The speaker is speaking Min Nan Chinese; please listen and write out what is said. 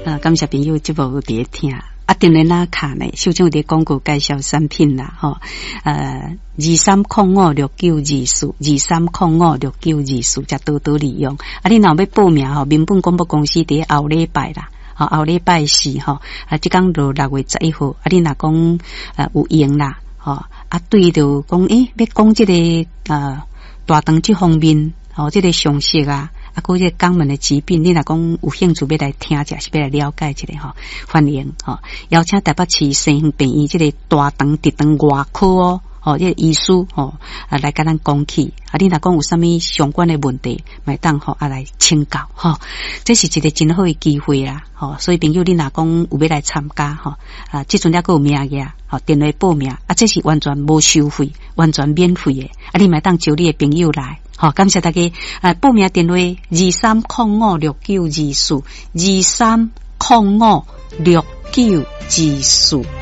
啊，感謝朋友節目有佇咧聽。啊，電話哪敲呢？秀真有佇廣告介紹產品啦，吼，23056924，23056924，才多多利用。啊，你若欲報名吼，民本廣播公司佇後禮拜啦，吼，後禮拜四吼，啊，這工就6月11號，啊，你若講有閒啦，吼，啊，對著講，欸，欲講這个大腸這方面，吼，這个常識啊。啊，閣這個肛門的疾病，你若講有興趣欲來聽者，是欲來了解一下吼，歡迎吼，邀請台北市西園病院這个大腸直腸外科哦，吼，這個醫師吼，啊來共咱講起。啊，你若講有啥物相關的問題，嘛會當吼啊來請教吼，這是一個真好的機會啦，吼，所以朋友你若講有欲來參加吼，啊，這陣猶閣有名額，吼，電話報名，啊，這是完全無收費，完全免費的，啊，你嘛會當招你的朋友來。好，感謝大家。啊，報名電話23056924，23056924。